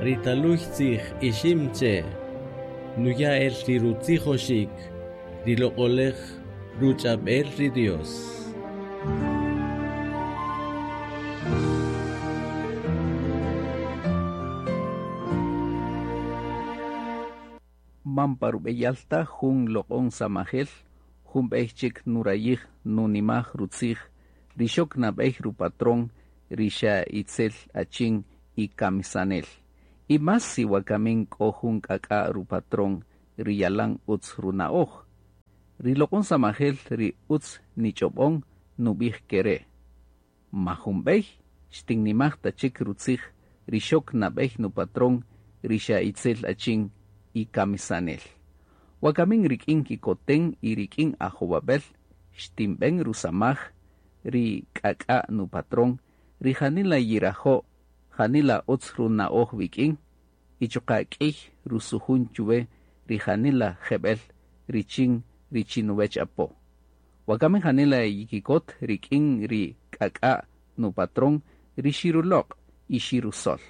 Ri taluy tzij ixim che, nuya el ri rutzijoxik, ri loq'olej ruch'ab'el ri Dios. Man pa rub'eyal ta jun loq'on samajel, jun b'ey chik nurayij nunimaj rutzij, ri xok nab'ey rupatrón ri xa itzel achin y kamisanel. Y más si wakamin k'o jun k'ak'a' rupatrón ri yalan utz runa'oj. Ri loq'on samajel ri utz nich'ob'on nub'ij kere'. Ma jun b'ey xtinnimaj ta chik rutzij ri xok nab'ey nupatrón ri xa itzel achin y kamisanel. Wakamin rik'in kikoten y rik'in ajowab'el xtinb'en rusamaj ri k'ak'a' nupatrón ri janila yirajo' janila utz runa'oj wik'in y chuqa' k'iy rusujun chuwe ri janila jeb'el richin richinuwech apo. Wakamin janila yikikot rik'in ri k'ak'a' nupatrón ri xiruloq' y xirusol.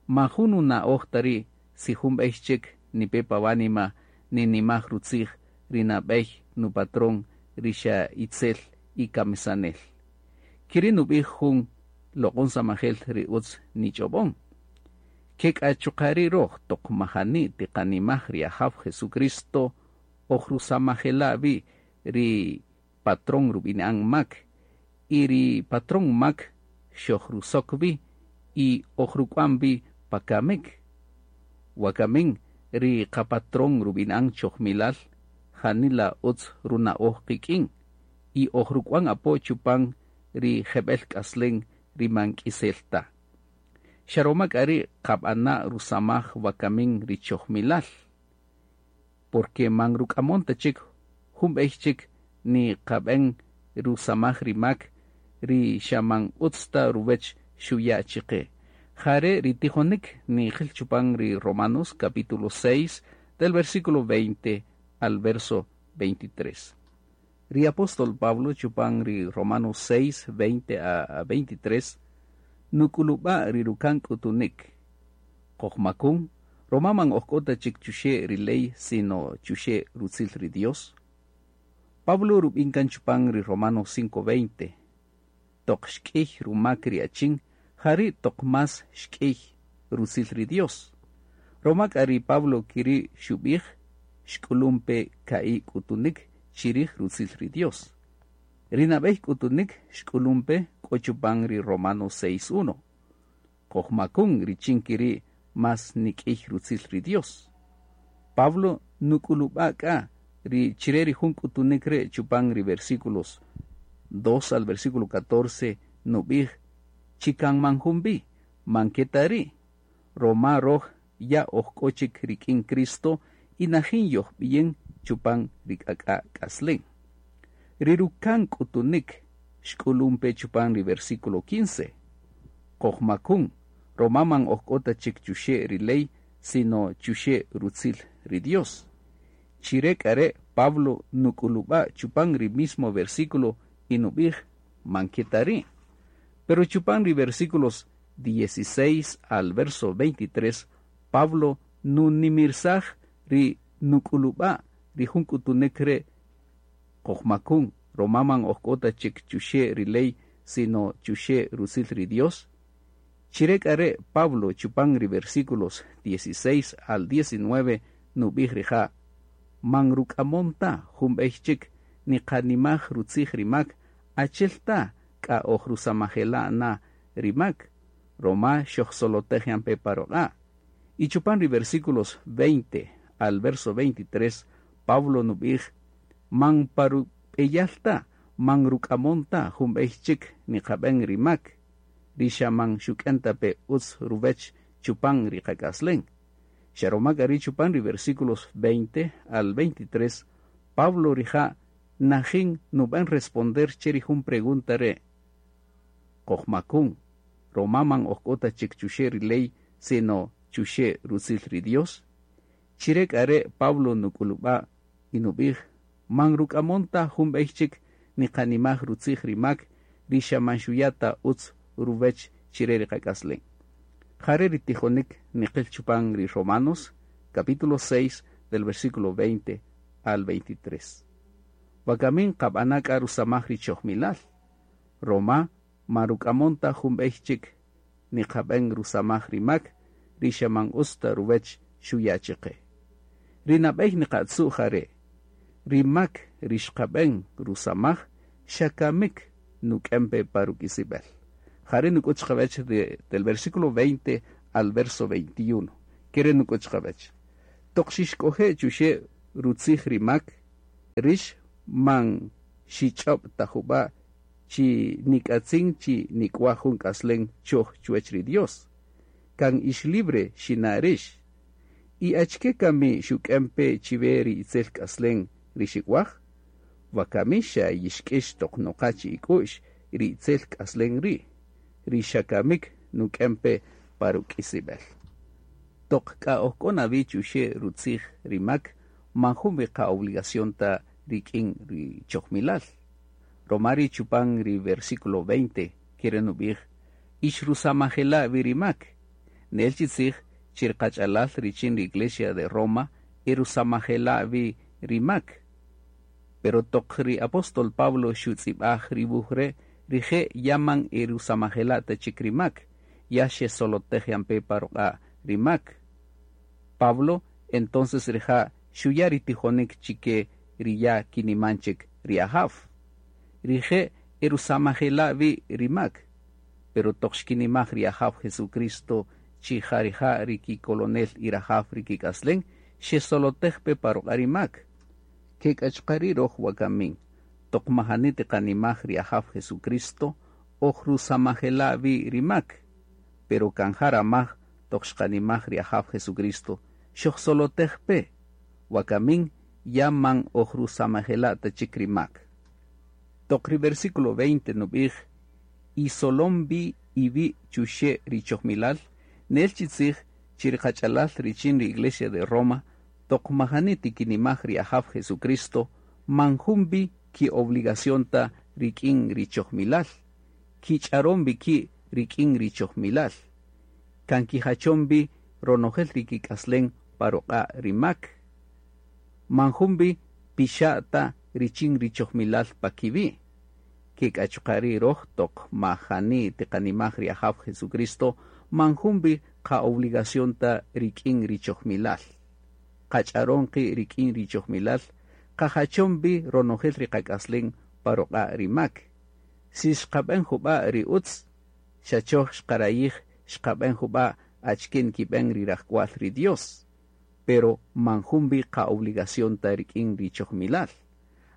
Ma jun nuna'oj ta ri' si jun b'ey chik nipe pa wanima ninimaj rutzij ri nab'ey nupatrón ri xa itzel y kamisanel. Kiri' nub'ij jun loq'on samajel ri utz nich'ob'on. Ke k'a chuqa' ri' roj toq majani tiqanimaj ri Ajaw Jesucristo oj rusamajela' wi ri patrón rub'ini'an mak y ri patrón mak xojrusok wi y ojruk'wan wi pa kamik. Wakamin ri qapatrón rub'ini'an chojmilal janila utz runa'oj qik'in y ojruk'wan apo chupan ri jeb'el k'aslen ri man k'isel ta. Xa roma k'a ri' qab'ana' rusamaj wakamin ri chojmilal. Porque man ruk'amon ta chik jun b'ey chik ni qab'en rusamaj ri mak ri xa man utz ta ruwech xuya' chiqe. Jare' ri tijonik nijil chupan ri Romanos capítulo 6 del versículo 20 al verso 23. Ri apóstol Pablo chupan ri Romanos 6, 20 a 23 nuk'ulub'a' ri rukan k'utunik. Qojmakun, roma man ojk'o ta chik chuxe' ri ley sino chuxe' rutzil ri Dios. Pablo rub'in kan chupan ri Romanos 5:20. Toq xk'iy rumak ri achin, jari' toq más xk'iy rutzil ri Dios. Roma k'a ri Pablo kiri' xub'ij, xk'ulumpe ka'i' k'utunik chirij rutzil ri Dios. Ri nab'ey k'utunik xk'ulumpe k'o chupan ri Romanos 6:1. Qojmakun richin kiri' más nik'iy rutzil ri Dios. Pablo nuk'ulub'a' k'a ri chire ri jun k'utunik re' chupan ri versículos 2 al versículo 14 nub'ij chikan man jun bi, man keta ri'. Roma roj ya ojk'o chik rik'in Cristo y najin yojb'iyin chupan ri k'ak'a' k'aslen. Ri rukan k'utunik xk'ulumpe chupan ri versículo 15. Qojmakun, roma man ojk'o ta chik chuxe' ri ley, sino chuxe' rutzil ri Dios. Chire k'a re' Pablo nuk'ulub'a' chupan ri mismo versículo y nub'ij man keta ri'. Pero chupan ri versículos 16 al verso 23, Pablo nunimirsaj ri nuk'ulub'a' ri jun k'utunik re' qojmakun, roma man ojk'o ta chik chuxe' ri ley, sino chuxe' rutzil ri Dios. Chire k'a re' Pablo chupan ri versículos 16 al 19 nub'ij rija' man ruk'amon ta jun b'ey chik niqanimaj rutzij ri mak achel ta k'a oj rusamajela' na ri mak, roma xojsolotej yan pe pa ruq'a'. Y chupan ri versículos 20 al verso 23, Pablo nub'ij man pa rub'eyal ta, man ruk'amon ta jun b'ey chik niqab'en ri mak, ri xa man xuk'en ta pe utz ruwech chupan ri qak'aslen. Xa roma k'a ri' chupan ri versículos 20 al 23, Pablo rija' najin nub'en responder che ri jun pregunta re'. Qojmakun, roma man ojk'o ta chik chuxe' ri ley, sino chuxe' rutzil ri Dios. Chire k'a re' Pablo nuk'ulub'a' y nub'ij man ruk'amon ta jun b'ey chik niqanimaj rutzij ri mak ri xa man xuya' ta utz ruwech chire ri qak'aslen. Jare' ri tijonik niqil chupan ri Romanos, capítulo 6, del versículo 20 al 23. Wakamin qab'ana' k'a rusamaj ri chojmilal, roma man ruk'amon ta jun b'ey chik niqab'en rusamaj ri mak ri xa man utz ta ruwech xuya' chiqe. Ri nab'ey niqatzu' jare', ri mak ri xqab'en rusamaj xa kamik nuk'en pe pa ruk'isib'el. Jare' nuk'ut chiqawech del versículo 20 al verso 21. Kere' nuk'ut chiqawech. Toq xixk'oje' chuxe' rutzij ri mak, rix man xich'ob' ta jub'a' chi nik'atzin chi nik'waj jun k'aslen choj chuwech ri Dios. Kan ix libre xina' rix. Y achike kami xuk'en pe chiwe ri itzel k'aslen ri xik'waj? Wakami xa yixk'ix toq noqa chi ik'u'x ri itzel k'aslen ri', ri xa kamik nuk'en pe pa ruk'isib'el. Toq k'a oj k'o na wi chuxe' rutzij ri mak, man jun wi qa'obligación ta rik'in ri chojmilal. Roma ri chupan ri versículo 20 kere' nub'ij, ix rusamajela' wi ri mak. Nel chi tzij chi ri qach'alal richin ri Iglesia de Roma e rusamajela' wi ri mak. Pero toq ri apóstol Pablo xutz'ib'aj ri wuj re', rije' ya man e rusamajela' ta chik ri mak, ya xesolotej yan pe pa ruq'a' ri mak. Pablo entonces rija' xuya' ri tijonik chike ri ya kiniman chik ri Ajaw. Rije' e rusamajela' wi ri mak, pero toq xkinimaj ri Ajaw Jesucristo chi ja rija' ri kikolonel y rajaw ri kik'aslen, xesolotej pe pa ruq'a' ri mak. Ke k'a chuqa' ri' roj wakamin, toq majani tiqanimaj ri Ajaw Jesucristo, oj rusamajela' wi ri mak, pero kan ja ramaj toq xqanimaj ri Ajaw Jesucristo, xojsolotej pe, wakamin ya man oj rusamajela' ta chik ri mak. Toq ri versículo 20 nub'ij, isolom wi iwi' chuxe' ri chojmilal, nel chi tzij chi ri qach'alal richin ri Iglesia de Roma, toq majani tikinimaj ri Ajaw Jesucristo, man jun wi ki'obligación ta rik'in ri chojmilal, kich'aron wi ki' rik'in ri chojmilal, kan kijachon wi ronojel ri kik'aslen pa ruq'a' ri mak. Man jun wi pixa' ta richin ri chojmilal pa kiwi'. Ke k'a chuqa' ri' roj toq majani tiqanimaj ri Ajaw Jesucristo, man jun wi qa'obligación ta rik'in ri chojmilal. Qach'aron qi' rik'in ri chojmilal, qajachon wi ronojel ri qak'aslen pa ruq'a' ri mak. Si xqab'en jub'a' ri utz, xa choj xqarayij xqab'en jub'a' achike nkib'en ri rajk'wal ri Dios. Pero man jun wi qa'obligación ta rik'in ri chojmilal.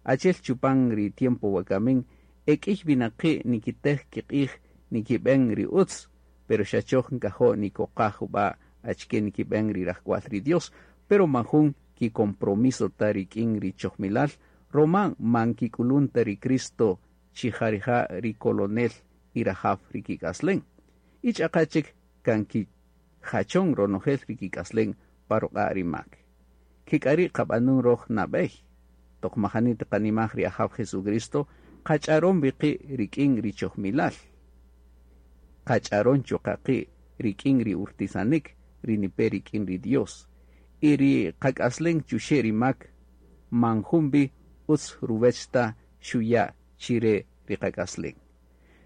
Achel chupan ri tiempo wakamin, e k'iy winaqi' nikitej kiq'ij nikib'en ri utz, pero xa choj nkajo' nikoqaj jub'a' achike nikib'en ri rajk'wal ri Dios, pero man jun kicompromiso ta rik'in ri chojmilal, roma man kik'ulun ta ri Cristo chi ja rija' ri kolonel y rajaw ri kik'aslen. Y ch'aqa chik kan kijachon ronojel ri kik'aslen pa ruq'a' ri mak. Ke k'a ri' qab'anun roj nab'ey, toq majani tiqanimaj ri Ajaw Jesucristo, qach'aron wi qi' rik'in ri chojmilal. Qach'aron chuqa' qi' rik'in ri urtisanik ri nipe rik'in ri Dios. Y ri qak'aslen chuxe' ri mak, man jun wi utz ruwech ta xuya' chire ri qak'aslen.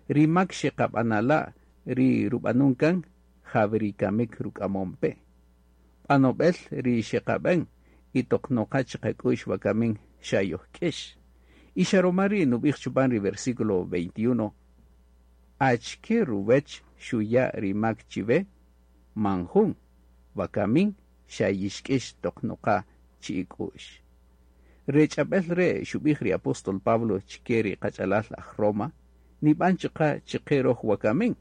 Ri mak xeqab'anala' ri rub'anun kan, ja wi ri kamik ruk'amon pe. B'anob'el ri xeqab'en y toq noqa chiqak'u'x wakamin xa yojk'ix. Y xa roma ri' nub'ij chupan ri versículo 21, achike ruwech xuya' ri mak chiwe? Man jun, wakamin xa yixk'ix toq noqa chi ik'u'x. Re ch'ab'el re' xub'ij ri apóstol Pablo chike ri qach'alal aj Roma, nib'an chuqa' chike roj wakamin,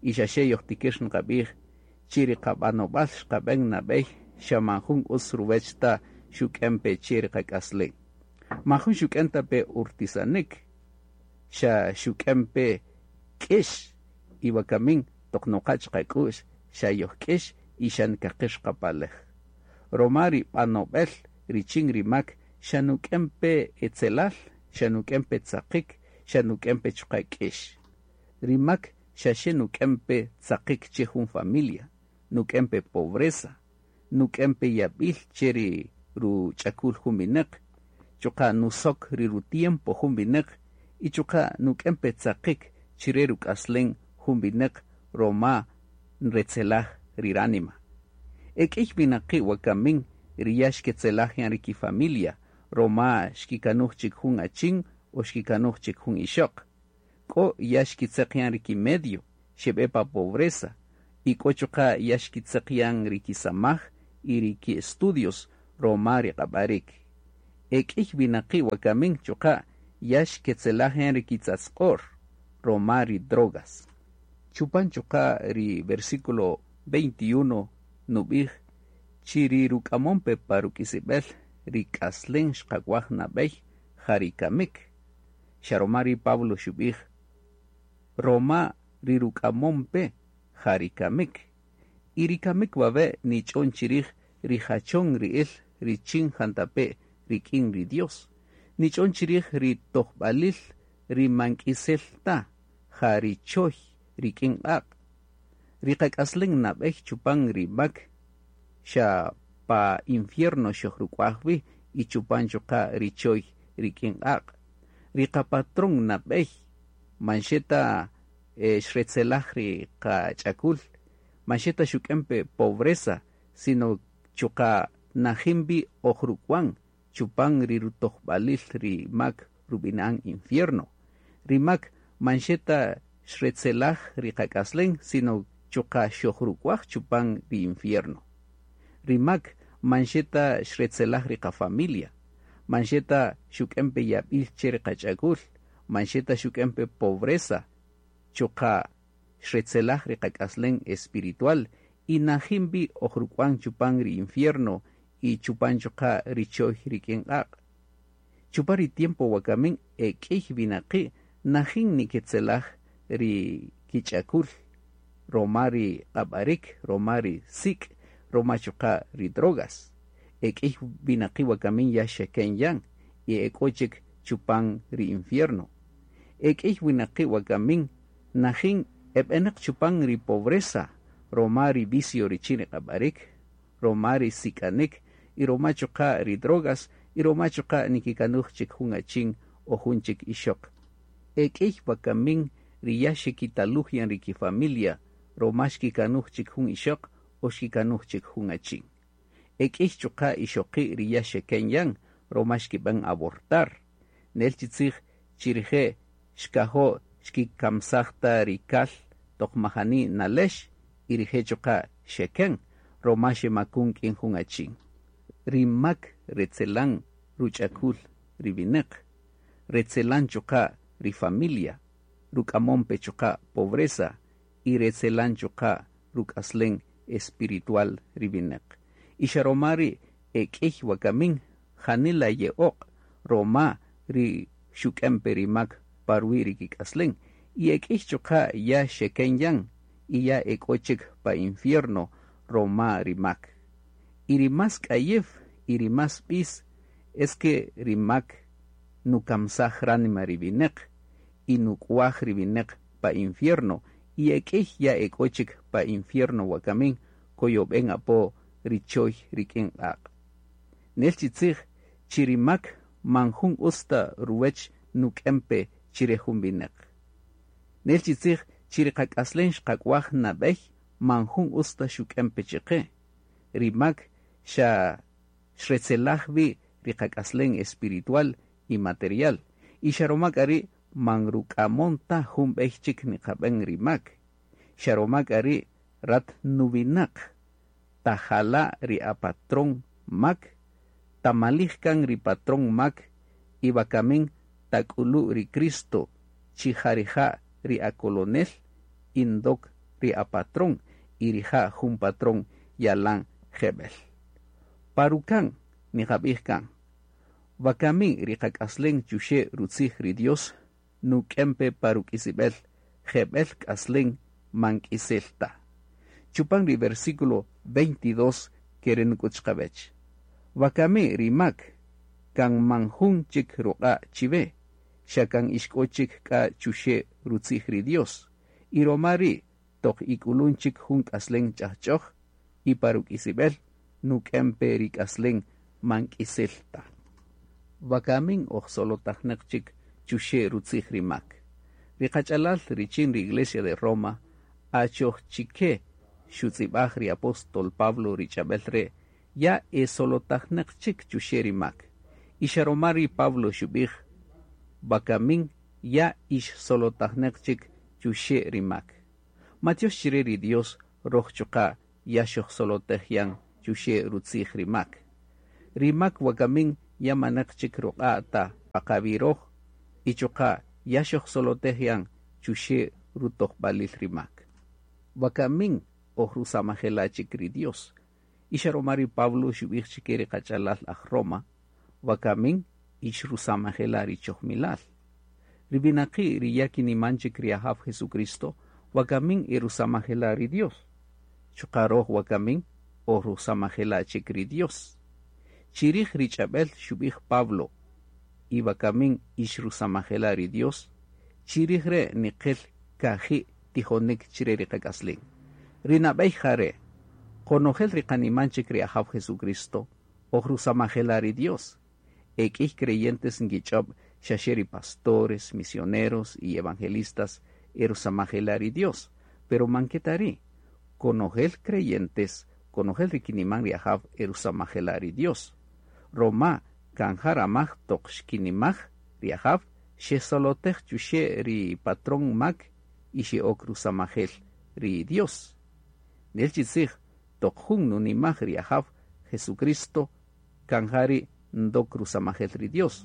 y xa xe yojtikir nqab'ij chi ri qab'anob'al xqab'en nab'ey xa man jun utz ruwech ta xuk'en pe che ri qak'aslen. Man jun xuk'en ta pe urtisanik, xa xuk'en pe k'ix y wakamin toq noqa chiqak'u'x xa yojk'ix y xa nkaqix qapalej. Roma ri b'anob'el richin ri mak xa nuk'en pe etzelal, xa nuk'en pe tzaqik, xa nuk'en pe chuqa' k'ix. Ri mak xa xe nuk'en pe tzaqik che jun familia. Nuk'en pe pobreza, nuk'en pe yab'il che ri ruch'akul jun winäq, chuqa' nusok ri rutiempo jun winäq y chuqa' nuk'en pe tzaqik chire ruk'aslen jun winäq roma nretzelaj ri ránima. E k'iy winaqi' wakamin ri ya xketzelaj yan ri kifamilia roma xkikanuj chik jun achin o xkikanuj chik jun ixöq. K'o ya xkitzeq yan ri kimedio, xeb'e pa pobreza, y k'o chuqa' ya xkitzeq yan ri kisamaj y ri ki-estudios roma ri q'ab'arik. E k'iy winaqi' wakamin chuqa' ya xketzelaj yan ri kitzatzq'or roma ri drogas. Chupan chuqa' ri versículo 21 nub'ij chi ri ruk'amon pe pa ruk'isib'el ri k'aslen xqak'waj nab'ey ja ri kamik. Xa roma ri Pablo xub'ij roma ri ruk'amon pe ja ri kamik. Y ri kamik wawe' nich'on chirij ri jachon ri'il richin jantape' rik'in ri Dios. Nich'on chirij ri tojb'alil ri man k'isel ta, ja ri choy rik'in q'aq'. Ri qak'aslen nab'ey chupan ri mak xa pa infierno xojruk'waj wi y chupan chuqa' ri choy rik'in q'aq'. Ri qapatrón nab'ey man xe ta xretzelaj ri qach'akul, man xe ta xuk'en pe pobreza, sino chuqa' najin wi ojruk'wan chupan ri rutojb'alil ri mak rub'ina'an infierno. Ri mak man xe ta xretzelaj ri qak'aslen, sino chuqa' xojruk'waj chupan ri infierno. Ri mak man xe ta xretzelaj ri qafamilia, man xe ta xuk'en pe yab'il che ri qach'akul, man xe ta xuk'en pe pobreza, chuqa' xretzelaj ri qak'aslen espiritual y najin wi ojruk'wan chupan ri infierno y chupan chuqa' ri choy rik'in q'aq'. Chupan ri tiempo wakamin e k'iy winaqi' najin niketzelaj ri kich'akul roma ri q'ab'arik, roma ri sik', roma chuqa' ri drogas. E k'iy winaqi' wakamin ya xeken yan y e k'o chik chupan ri infierno. E k'iy winaqi' wakamin najin eb'enaq chupan ri pobreza roma ri vicio richin ri q'ab'arik, roma ri sik'anik y roma chuqa' ri drogas y roma chuqa' nikikanuj chik jun achin o jun chik ixöq. E k'iy wakamin ri ya xekitaluj yan ri kifamilia roma xkikanuj chik jun ixöq o xkikanuj chik jun achin. E k'iy chuqa' ixoqi' ri ya xeken yan roma xkib'an abortar. Nel chi tzij chi rije' xkajo' xkikamsaj ta ri kal toq majani nalex y rije' chuqa' xeken roma xemakun k'in jun achin. Ri mak retzelan ruch'akul ri winäq, retzelan chuqa' ri familia, ruk'amon pe chuqa' pobreza y retzelan chuqa' ruk'aslen espiritual ri winäq. Y xa roma ri' e k'iy wakamin janila ye'oq' roma ri xuk'en pe ri mak pa ruwi' ri kik'aslen y e k'iy chuqa' ya xeken yan y ya e k'o chik pa infierno roma ri mak. Y ri más k'ayew y ri más b'is es que ri mak nukamsaj ránima ri winäq y nuk'waj ri winäq pa infierno y e k'iy ya e k'o chik pa infierno wakamin koyob'en apo ri choy rik'in q'aq'. Nel chi tzij chi ri mak man jun utz ta ruwech nuk'en pe chire jun winäq. Nel chi tzij chi ri qak'aslen xqak'waj nab'ey man jun utz ta xuk'en pe chiqe. Ri mak xa xretzelaj wi ri qak'aslen espiritual y material. Y xa roma k'a ri' man ruk'amon ta jun b'ey chik niqab'en ri mak. Xa roma k'a ri' rat nuwinaq tajala' ri apatrón mak, tamalij kan ri patrón mak y wakamin tak'ulu' ri Cristo chi ja rija' ri akolonel y ndok ri apatrón y rija' jun patrón yalan jeb'el. Parukan niqab'ij kan, wakamin ri qak'aslen chuxe' rutzij ri Dios nuk'en pe pa ruk'isib'el jeb'el k'aslen man k'isel ta. Chupan ri versículo 22 kere nuk'ut chiqawech. Wakami ri mak kan man jun chik ruq'a' chiwe, xa kan ixk'o chik k'a chuxe' rutzij ri Dios. Y roma ri' toq ik'ulun chik jun k'aslen ch'ajch'oj, Y pa ruk'isib'el nuk'en pe ri k'aslen man k'isel ta. Wakamin oj solotajneq chik chuxe' rutzij ri mak. Ri qach'alal richin ri Iglesia de Roma achoj chike xutz'ib'aj ri apóstol Pablo ri ch'ab'el re' ya e solotajneq chik chuxe' ri mak. Y xa roma ri Pablo xub'ij wakamin ya ix solotajneq chik chuxe' ri mak. Matiox chire ri Dios roj chuqa' ya xojsolotej yan chuxe' rutzij ri mak. Ri mak wakamin ya maneq chik ruq'a' ta pa qawi' roj y chuqa' ya xojsolotej yan chuxe' rutojb'alil ri mak. Wakamin oj rusamajela' chik ri Dios. Y xa roma ri Pablo xub'ij chike ri qach'alal aj Roma, wakamin ix rusamajela' ri chojmilal. Ri winaqi' ri ya kiniman chik ri Ajaw Jesucristo, wakamin e rusamajela' ri Dios. Chuqa' roj wakamin oj rusamajela' chik ri Dios. Chirij ri ch'ab'el xub'ij Pablo, y wakamin ix rusamajela' ri Dios, chirij re' niqel kaji' tijonik chire ri qak'aslin. Ri nab'ey jare', qonojel ri qaniman chik ri Ajaw Jesucristo, oj rusamajela' ri Dios. E k'iy creyentes nkich'ob' xaxe ri pastores, misioneros y evangelistas e rusamajela' ri Dios, pero man ke ta ri'. Konojel creyentes, konojel ri kiniman ri Ajaw e rusamajela' ri Dios. Roma kan ja ramaj toq xkinimaj ri Ajaw xesolotej chuxe' ri patrón mak y xe'ok rusamajel ri Dios. Nel chi tzij toq jun nunimaj ri Ajaw Jesucristo kan ja ri' ndok rusamajel ri Dios.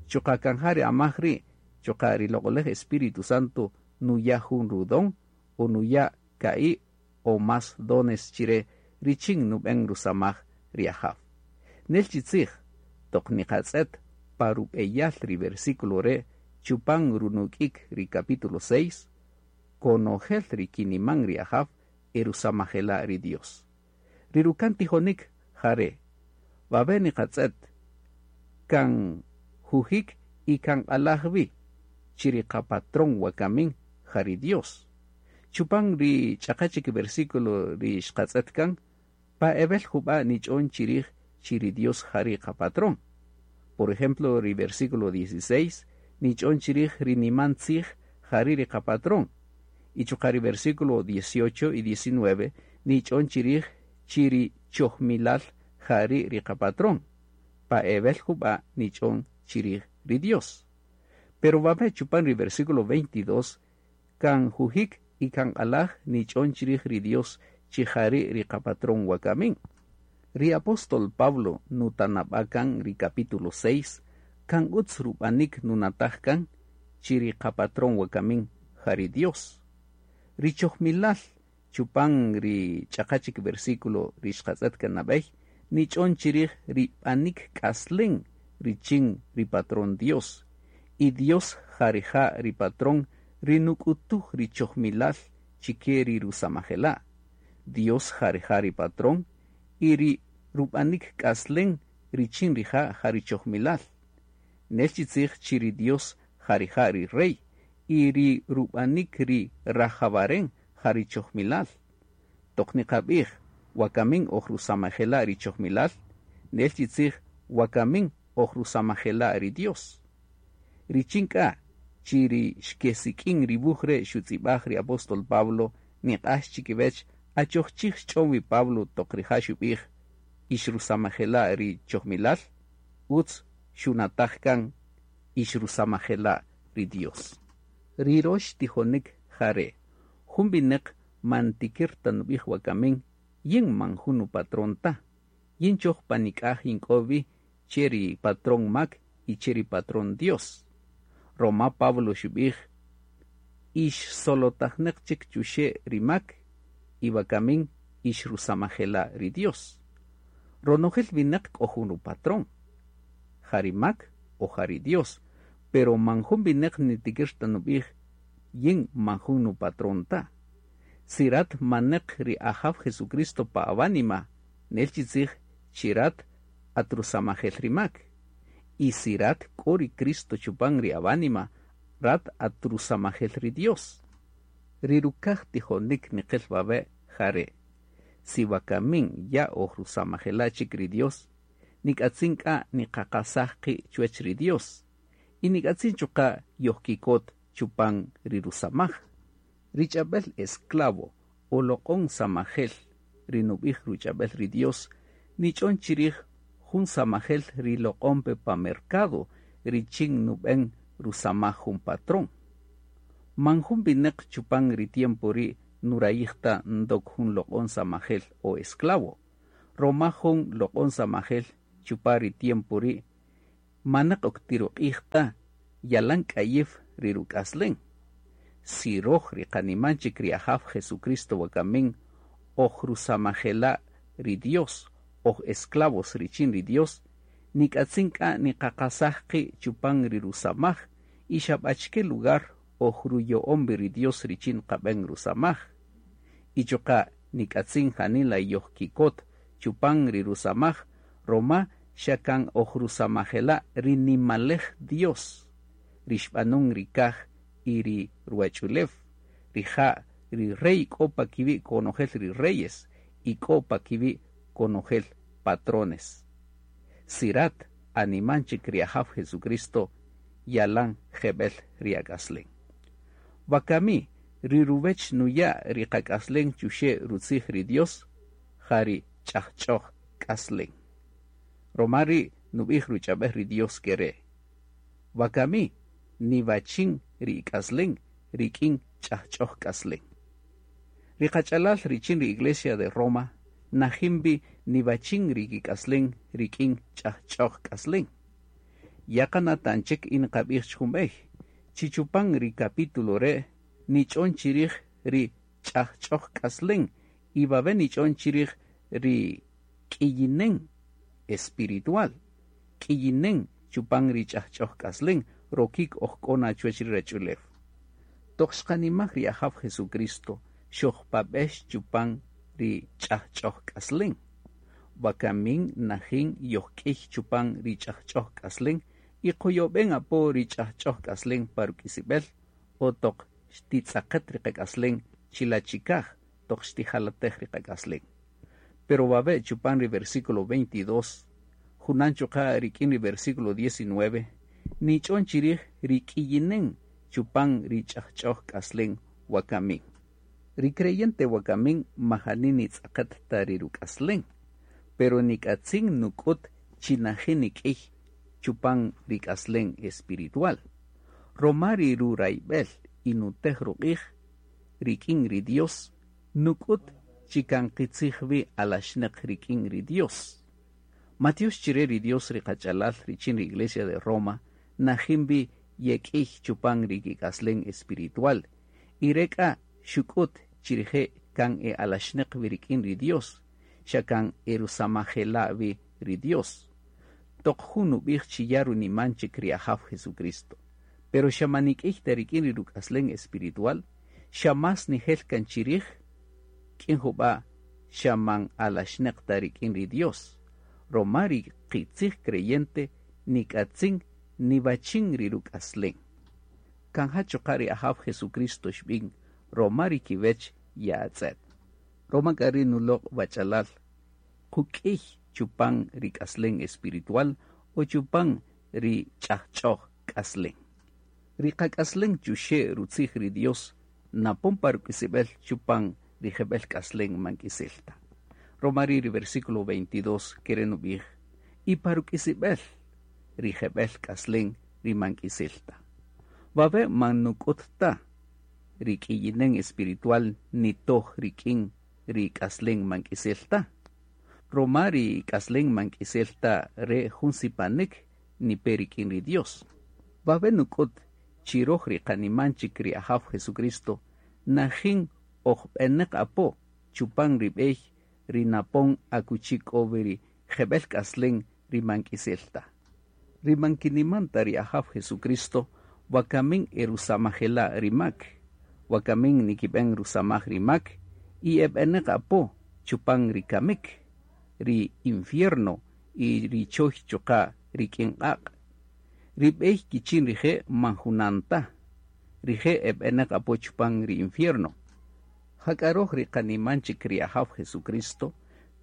Chuqa' kan ja ri amaj ri' chuqa' ri loq'olej Espíritu Santo nuya' jun rudon o nuya' ka'i' o más dones chire richin nub'en rusamaj ri Ajaw. Nel chi tzij toq niqatz'et pa rub'eyal ri versículo re' chupan runuk'ik ri capítulo 6, konojel ri kiniman ri Ajaw e rusamajela' ri Dios. Ri rukan tijonik jare', wawe' niqatz'et kan jujik y kan q'alaj wi chi ri qapatrón wakamin ja ri Dios. Chupan ri ch'aqa chik versículo ri xqatz'et kan, pa ebel jub'a' nich'on chirij chi ri Dios ja ri qapatrón. Por ejemplo, ri versículo 16 nich'on chirij ri niman tzij ja ri ri qapatrón. Y chuqa' ri versículo 18 y 19 nich'on chirij chi ri chojmilal ja ri ri qapatrón. Pa ebel jub'a' nich'on chirij ri Dios. Pero wawe' chupan ri versículo 22 kan jujik y kan q'alaj nich'on chirij ri Dios chi ja ri' ri qapatrón wakamin. Ri apóstol Pablo nutanab'a kan ri capítulo 6 kan utz rub'anik nunataj kan chi ri qapatrón wakamin ja ri Dios. Ri chojmilal chupan ri ch'aqa chik versículo ri xqatz'et kan nab'ey nich'on chirij ri b'anik k'aslen richin ri patrón Dios. Y Dios ja rija' ri patrón ri nuk'utuj ri chojmilal chike ri rusamajela'. Dios ja rija' ri patrón y ri rub'anik k'aslen richin rija' ja ri chojmilal. Nel chi tzij chi ri Dios ja rija' ri rey y ri rub'anik ri rajawaren ja ri chojmilal. Toq niqab'ij wakamin oj rusamajela' ri chojmilal, nel chi tzij wakamin oj rusamajela' ri Dios. Richin k'a chi ri xkesik'in ri wuj re' xutz'ib'aj ri apóstol Pablo niq'ax chikiwech achoj chij xch'on wi Pablo toq rija' xub'ij ix rusamajela' ri chojmilal, utz xunataj kan ix rusamajela' ri Dios. Ri rox tijonik jare', jun winäq man tikir ta nub'ij wakamin yin man jun nupatrón ta, yin choj pa nik'aj yink'o wi che ri patrón mak y che ri patrón Dios. Roma Pablo xub'ij ix solotajneq chik chuxe' ri mak y wakamin ix rusamajela' ri Dios. Ronojel winäq k'o jun rupatrón, ja ri mak o ja ri Dios, pero man jun winäq nitikir ta nub'ij yin man jun nupatrón ta. Si rat maneq ri Ajaw Jesucristo pa awánima, nel chi tzij chi rat at rusamajel ri mak. Y si rat k'o ri Cristo chupan ri awánima, rat at rusamajel ri Dios. Ri rukaj tijonik niqel wawe' jare'. Si wakamin ya oj rusamajela' chik ri Dios, nik'atzin k'a niqaqasaj qi' chuwech ri Dios y nik'atzin chuqa' yojkikot chupan ri rusamaj. Ri ch'ab'el esclavo o loq'on samajel ri nub'ij ruch'ab'el ri Dios nich'on chirij jun samajel ri loq'on pe pa mercado richin nub'en rusamaj jun patrón. Man jun wineq chupan ri tiempo ri' nurayij ta ndok jun loq'on samajel o esclavo, roma jun loq'on samajel chupan ri tiempo ri' maneq ok tiruq'ij ta yalan k'ayiw ri ruk'aslen. Si roj ri qaniman chik ri Ajaw Jesucristo wakamin oj rusamajela' ri Dios, oj esclavos richin ri Dios, nik'atzin k'a niqaqasaj qi' chupan ri rusamaj y xa b'achike lugar oj ruyo'on wi ri Dios richin qab'en rusamaj. Y chuqa' nik'atzin janila yojkikot chupan ri rusamaj roma xa kan oj rusamajela' ri nimalej Dios, ri xb'anun ri kaj y ri ruwach'ulew, rija' ri rey k'o pa kiwi' konojel ri reyes y k'o pa kiwi' konojel patrones. Si rat animan chik ri Ajaw Jesucristo yalan jeb'el ri ak'aslen. Wakami ri ruwech nuya' ri qak'aslen chuxe' rutzij ri Dios ja ri ch'ajch'oj k'aslen. Roma ri' nub'ij ruch'ab'el ri Dios kere': Wakami niwachin ri ik'aslen rik'in ch'ajch'oj k'aslen. Ri qach'alal richin ri Iglesia de Roma najin wi niwachin ri kik'aslen rik'in ch'ajch'oj k'aslen. Ya qanatan chik y niqab'ij chik jun b'ey, chi chupan ri capítulo re' nich'on chirij ri ch'ajch'oj k'aslen y wawe' nich'on chirij ri k'iyinen espiritual, k'iyinen chupan ri ch'ajch'oj k'aslen rokik oj k'o na chuwech ri ruwach'ulew. Toq xqanimaj ri Ajaw Jesucristo xojpab'ex chupan ri ch'ajch'oj k'aslen. Wakamin najin yojk'iy chupan ri ch'ajch'oj k'aslen y qoyob'en apo ri ch'ajch'oj k'aslen pa ruk'isib'el o toq xtitz'aqet ri qak'aslen chila' chikaj toq xtijalatej ri qak'aslen. Pero wawe' chupan ri versículo 22, junan chuqa' rik'in ri versículo 19, nich'on chirij ri k'iyinen chupan ri ch'ajch'oj k'aslen wakamin. Ri creyente wakamin majani nitz'aqet ta ri ruk'aslen, pero nik'atzin nuk'ut chi najin nik'iy chupan ri k'aslen espiritual. Roma ri rurayb'el y nutej ruq'ij rik'in ri Dios, nuk'ut chi kan qitzij wi alaxneq rik'in ri Dios. Matiox chire ri Dios ri qach'alal richin ri Iglesia de Roma, najin wi yek'iy chupan ri kik'aslen espiritual, y re k'a xuk'ut chi rije' kan e alaxneq wi rik'in ri Dios, xa kan e rusamajela' wi ri Dios. Toq jun nub'ij chi ya runiman chik ri Ajaw Jesucristo, pero xa man nik'iy ta rik'in ri ruk'aslen espiritual, xa más nijel kan chirij, k'in jub'a' xa man alaxneq ta rik'in ri Dios. Roma ri qitzij creyente nik'atzin niwachin ri ruk'aslen. Kan ja chuqa' ri Ajaw Jesucristo xb'in roma ri kiwech ya'atz'et. Roma k'a ri nuloq' wach'alal quk'iy chupan ri k'aslen espiritual o chupan ri ch'ajch'oj k'aslen. Ri qak'aslen chuxe' rutzij ri Dios napon pa ruk'isib'el chupan ri jeb'el k'aslen man k'isel ta. Roma ri' ri versículo 22 kere' nub'ij, y pa ruk'isib'el ri jeb'el k'aslen ri man k'isel ta. Wawe' man nuk'ut ta ri k'iyinen espiritual nitoj rik'in ri k'aslen man k'isel ta. Roma ri k'aslen man k'isel ta re jun sipanik nipe rik'in ri Dios. Wawe' nuk'ut chi roj ri qaniman chik ri Ajaw Jesucristo najin oj b'eneq apo chupan ri b'ey ri napon akuchi k'o wi ri jeb'el k'aslen ri man k'isel ta. Ri man kiniman ta ri Ajaw Jesucristo wakamin e rusamajela' ri mak, wakamin nikib'en rusamaj ri mak y e b'eneq apo chupan ri kamik, ri infierno y ri choy chuqa' rik'in q'aq'. Ri b'ey kichin rije' man junan ta, rije' e b'eneq apo chupan ri infierno. Jak'a roj ri qaniman chik ri Ajaw Jesucristo,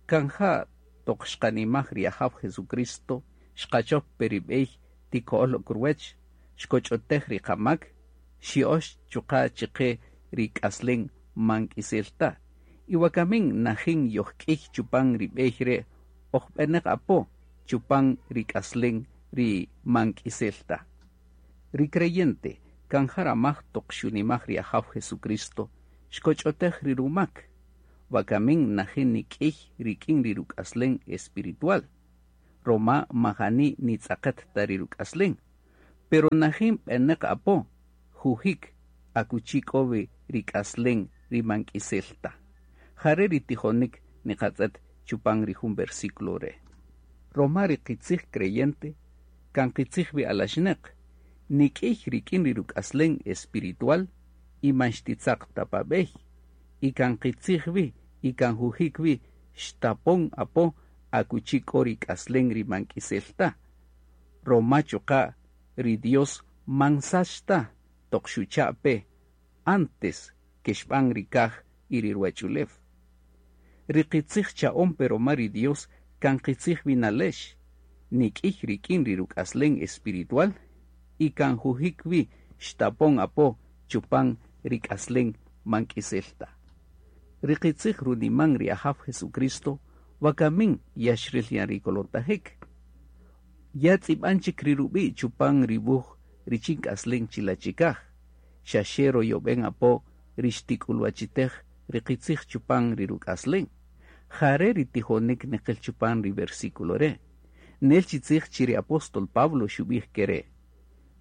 kan ja toq xqanimaj ri Ajaw Jesucristo, xqachop pe ri b'ey tiko'öl ok ruwäch, xkoch'otej ri qamak, xya'öx chuqa' chiqe ri k'aslen man k'isel ta. Y wakamin najin yojk'iy chupan ri b'ey re' oj b'enäq apo chupan ri k'aslen ri man k'isel ta. Ri creyente kan ja ramaj toq xunimaj ri Ajaw Jesucristo, xkoch'otej ri rumak. Wakamin najin nik'iy rik'in ri ruk'aslen espiritual, roma majani nitz'aqet ta ri ruk'aslen, pero najin b'enäq apo jujik akuchi k'o wi ri k'aslen ri man k'isel ta. Jare' ri tijonik niqatz'et chupan ri jun versículo re'. Roma ri qitzij creyente kan qitzij wi alaxnäq, nik'iy rik'in ri ruk'aslen espiritual y man xtitzaq ta pa b'ey, y kan qitzij wi y kan jujik wi xtapon apo akuchi k'o ri k'aslen ri man k'isel ta. Roma chuqa' ri Dios man sach ta toq xucha' pe antes ke xb'an ri kaj y ri ruwach'ulew. Ri qitzij cha'on pe roma ri Dios kan qitzij wi nalex, nik'iy rik'in ri ruk'aslen espiritual y kan jujik wi xtapon apo chupan ri k'aslen man k'isel ta. Ri qitzij runiman ri Ajaw Jesucristo wakamin ya xril yan ri kolotajik. Ya tz'ib'an chik ri rub'i' chupan ri wuj richin k'aslen chila' chikaj, xa xe royob'en apo ri xtik'ulwachitej ri qitzij chupan ri ruk'aslen. Jare' ri tijonik niqil chupan ri versículo re'. Nel chi tzij chi ri apóstol Pablo xub'ij kere':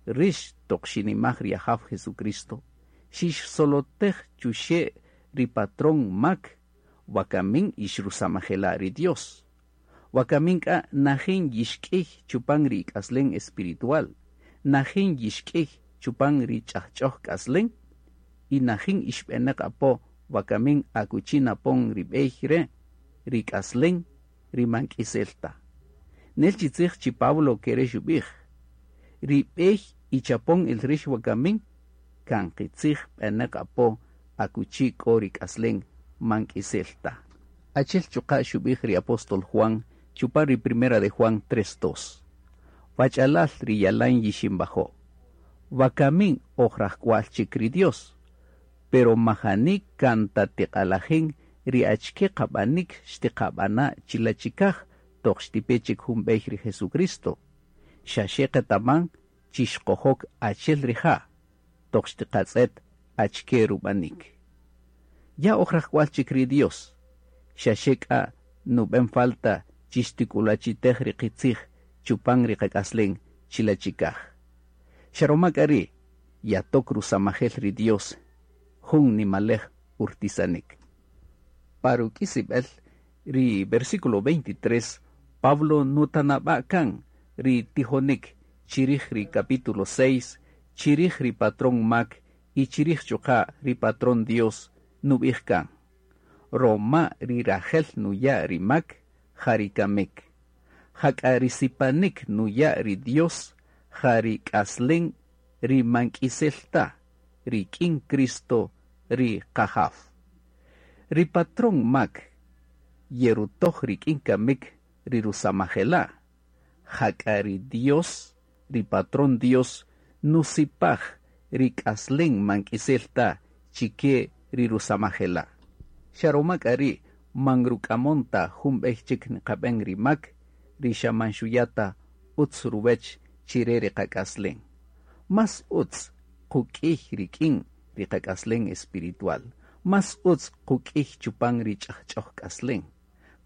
Rix toq xinimaj ri Ajaw Jesucristo, xixsolotej chuxe' ri patrón mak, wakamin ixrusamajela' ri Dios. Wakamin k'a najin yixk'iy chupan ri ik'aslen espiritual, najin yixk'iy chupan ri ch'ajch'oj k'aslen, y najin ixb'enäq apo wakamin akuchi napon ri b'ey re', ri k'aslen ri man k'isel ta. Nel chi tzij chi Pablo kere' xub'ij: Ri b'ey ichapon el rix wakamin kan qitzij b'enäq apo akuchi k'o ri k'aslen man k'isel ta. Achel chuqa' xub'ij ri apóstol Juan chupan ri primera de Juan 3:2. Wach'alal ri yalan yixinbajo'. Wakamin oj rajk'wa'l chik ri Dios, pero majani kan ta tiq'alajin ri achike qab'anik xtiqab'ana' chila' chikaj toq xtipe chik jun b'ey ri Jesucristo. Xa xe qetaman chi xqojok achel rija' toq xtiqatz'et achike rub'anik. Ya oj rajk'wa'l chik ri Dios, xa xe k'a nub'en falta chi xtik'ulwachitej ri qitzij chupan ri qak'aslen chila' chikaj. Xa roma k'a ri' yatok rusamajel ri Dios jun nimalej urtisanik. Pa ruk'isib'el ri versículo 23, Pablo nutanab'a' kan ri tijonik chirij ri capítulo 6, chirij ri patrón mak y chirij chuqa' ri patrón Dios nub'ij kan. Roma ri rajel nuya' ri mak ja ri kamik. Jak'a ri sipanik nuya' ri Dios ja ri k'aslen ri man k'isel ta, rik'in Cristo ri Qajaw. Ri patrón mak yerutoj rik'in kamik ri rusamajela', jak'a ri Dios, ri patrón Dios, nusipaj ri k'aslen man k'isel ta chike ri rusamajela'. Xa roma k'a ri' man ruk'amon ta jun b'ey chik niqab'en ri mak, ri xa man xuya' ta utz ruwech chire ri qak'aslen. Más utz quk'iy rik'in ri qak'aslen espiritual, más utz quk'iy chupan ri ch'ajch'oj k'aslen.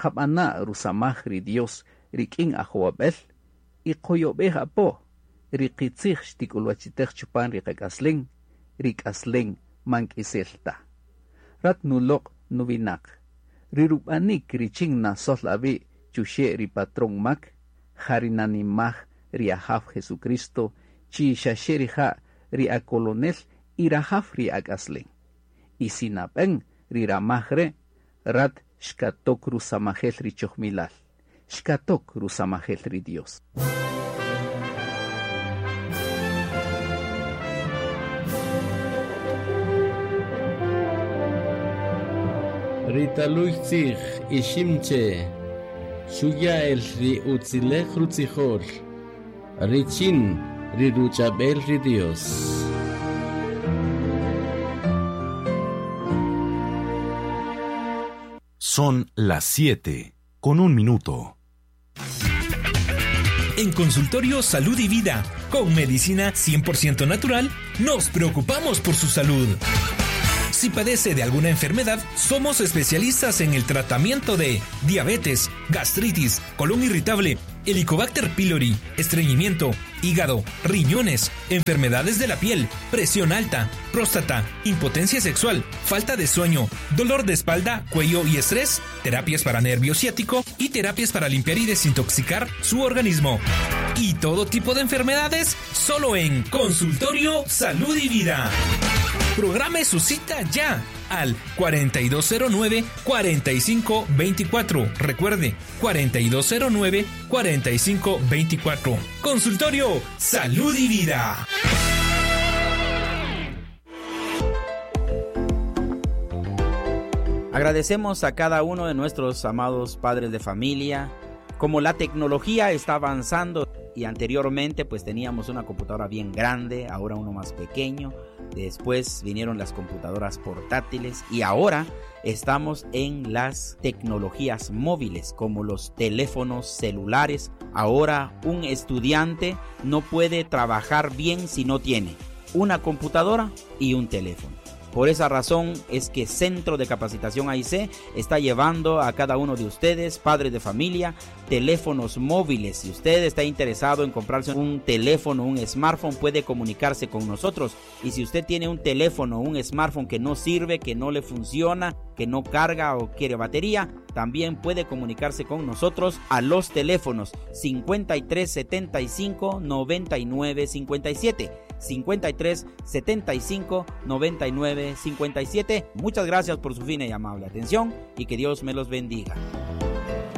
Qab'ana' rusamaj ri Dios rik'in ajowab'el y qoyob'ej apo ri qitzij xtik'ulwachitej chupan ri qak'aslen, ri k'aslen man k'isel ta. Rat nuloq' nuwinaq, ri rub'anik richin nasol awi' chuxe' ri patrón mak, ja ri nanimaj ri Ajaw Jesucristo chi xa xe rija' ri akolonel y rajaw ri ak'aslen. Y si nab'en ri ramaj re', rat xkatok rusamajel ri chojmilal, xkatok rusamajel ri Dios. Ri taluy tzij Iximche' xuya' el ri utzilej rutzijol richin ri ruch'ab'el ri Dios. Son las 7 con un minuto. En Consultorio Salud y Vida, con medicina 100% natural, nos preocupamos por su salud. Si padece de alguna enfermedad, somos especialistas en el tratamiento de diabetes, gastritis, colon irritable, Helicobacter pylori, estreñimiento, hígado, riñones, enfermedades de la piel, presión alta, próstata, impotencia sexual, falta de sueño, dolor de espalda, cuello y estrés, terapias para nervio ciático y terapias para limpiar y desintoxicar su organismo. Y todo tipo de enfermedades solo en Consultorio Salud y Vida. Programe su cita ya al 4209-4524. Recuerde, 4209-4524. Consultorio Salud y Vida. Agradecemos a cada uno de nuestros amados padres de familia. Como la tecnología está avanzando y anteriormente pues teníamos una computadora bien grande, ahora uno más pequeño. Después vinieron las computadoras portátiles y ahora estamos en las tecnologías móviles como los teléfonos celulares. Ahora un estudiante no puede trabajar bien si no tiene una computadora y un teléfono. Por esa razón es que Centro de Capacitación AIC está llevando a cada uno de ustedes, padres de familia, teléfonos móviles. Si usted está interesado en comprarse un teléfono, un smartphone, puede comunicarse con nosotros. Y si usted tiene un teléfono, un smartphone que no sirve, que no le funciona, que no carga o quiere batería, también puede comunicarse con nosotros a los teléfonos 53 75 99 57. 53 75 99 57. Muchas gracias por su fina y amable atención y que Dios me los bendiga.